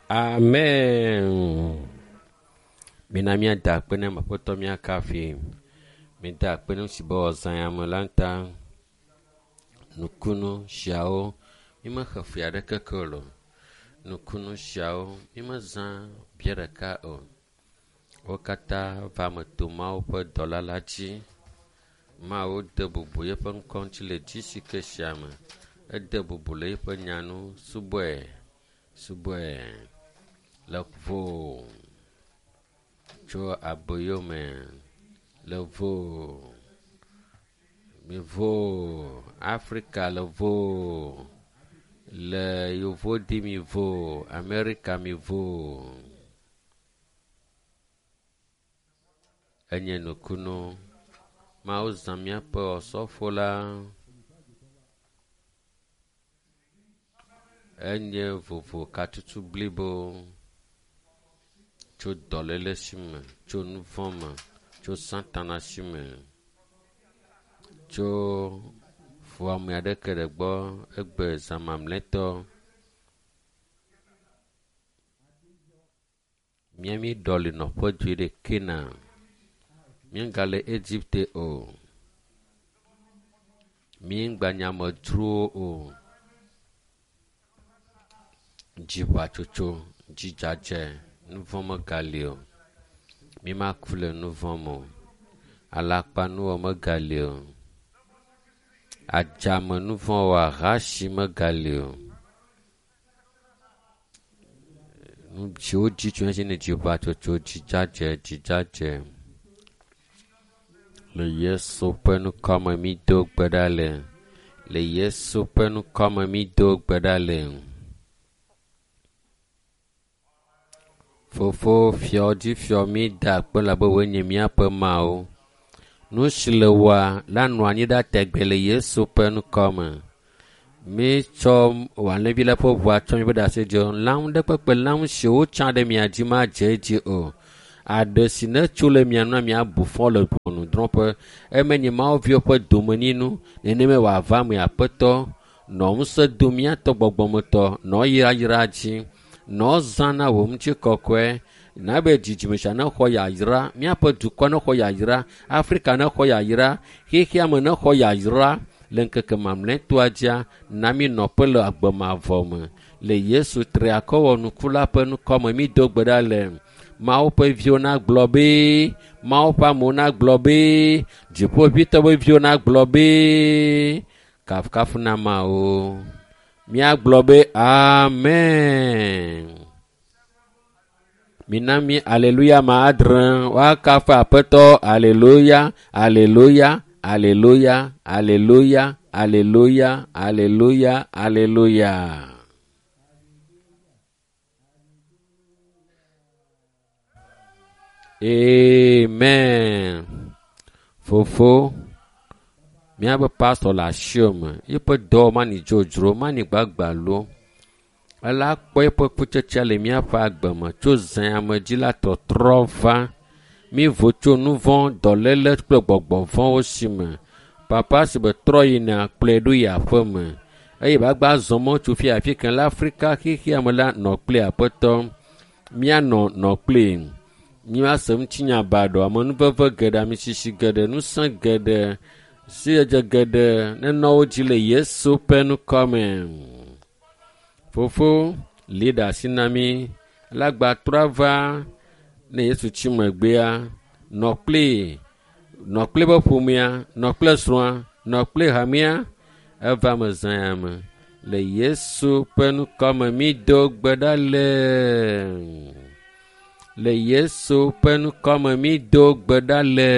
Amen. Mina míada akpe na Aƒetɔ míakafi. Mida akpe na si be wòazã ya me la ta. Nukunu siawo mímexe fea aɖeke ke o. Nukunu siawo mímezã bia ɖeka o. Wo katã va me to Mawu ƒe dɔla la dzi. Mawu de bubu yeƒe ŋkɔ ŋuti le GCK sia me. Ede bubu le yeƒe nya nu. Subɔe, subɔe le vo tso aboyo me le vo mi vo Afrika le vo le yovodi mi vo Amerika mi vo. Enye nukunu. Mawu zã míaƒe osɔfo la. Enye vovo katutu blibo tso dɔléle si me, tso nu vɔ̃ me, tso satana si me, tso fuame aɖeke ɖe gbɔ egbe zã mamlɛtɔ. Míami ɖɔli nɔƒe dzoe ɖe Kena. Míegale Egipte o. Míegbanye amedzrowo o. Dziʋatsotso, dzidzadze, nu vɔ̃ megali o. Mímaku le nu vɔ̃ me o. Alakpanuwɔ megali o. Adzame nu vɔ̃ wɔ ahasi megali o. Nu siwo dzi tso ne dziʋatsotso, dzidzadze, dzidzadze. Le Yesu ƒe ŋkɔme mído gbe ɖa le. Le Yesu ƒe ŋkɔme mído gbe ɖa le. Fofo fiɔ dzi fiɔ mí da akpe labe woe nye míaƒe Mawu. Nu si le wɔa la nɔ anyi ɖa tegbe le Yesu ƒe ŋkɔme. Mítsɔ wò alẽvi la ƒe ʋua tsɔ míaƒe ɖase dzi. Lãwo ɖe kpekpe lãwo si wotsã ɖe mia dzi madze edzi o. Aɖe si netso le mia nua miabu fɔ le ʋɔnudrɔ̃ƒe. Eme nye Mawu viwo ƒe domenyinu. Nenemae wòava eme Aƒetɔ. Nɔ ŋusẽ dom míatɔ gbɔgbɔmetɔ. Nɔ yayra dzi. Nɔ zã na wò ŋutikɔkɔe. Na be dzidzime sia nexɔ yayra. Míaƒe dukɔ nexɔ yayra. Afrika nexɔ yayra. Xexea me nexɔ yayra. Le ŋkeke mamlɛtɔa dzia, na mí nɔƒe le agbe mavɔ me. Le Yesu triakɔwɔnuku la ƒe ŋkɔme mído gbe ɖa le. Mawu ƒe viwo nagblɔ be, Mawu ƒe amewo nagblɔ be, Dziƒoʋĩtɔ ƒe viwo nagblɔ be, kafukafu na Mawu. Míagblɔ be amen. Mina mí aleluya ma adre woakafu Aƒetɔ aleluya aleluya aleluya aleluya aleluya aleluya aleluya. Amen. Fofo, míaƒe pastor le asiwò me. Yeƒe dɔ mani dzodzro, mani gbagbalo. Ela kpɔ eƒe kutsetsea le míaƒe agbe me tso zã me dzi la tɔtrɔ va. Mívo tso nu vɔ̃, dɔléle kple gbɔgbɔ vɔ̃wo si me. Papa si be trɔ yina kplɔe ɖo yi aƒe me. Eye be azɔ mɔ tso fia afi ke le Afrika xexea me la nɔ kple Aƒetɔ. Míanɔ nɔ kpli. Míase ŋutinya baɖɔ, amenuveve geɖe, amisisi geɖe, ŋusẽ geɖe, sidzedze geɖe nenɔ wo dzi le Yesu ƒe ŋkɔme. Fofo, li ɖe asi na mí. Le agba trɔ ava ne Yesu tsi megbea, nɔ kpli, nɔ kpli eƒe ƒomea, nɔ kple srɔ̃a, nɔ kpli hamea, eva me zã ya me. Le Yesu ƒe ŋkɔme mído gbe ɖa le. Le Yesu ƒe ŋkɔme mído gbe ɖa le.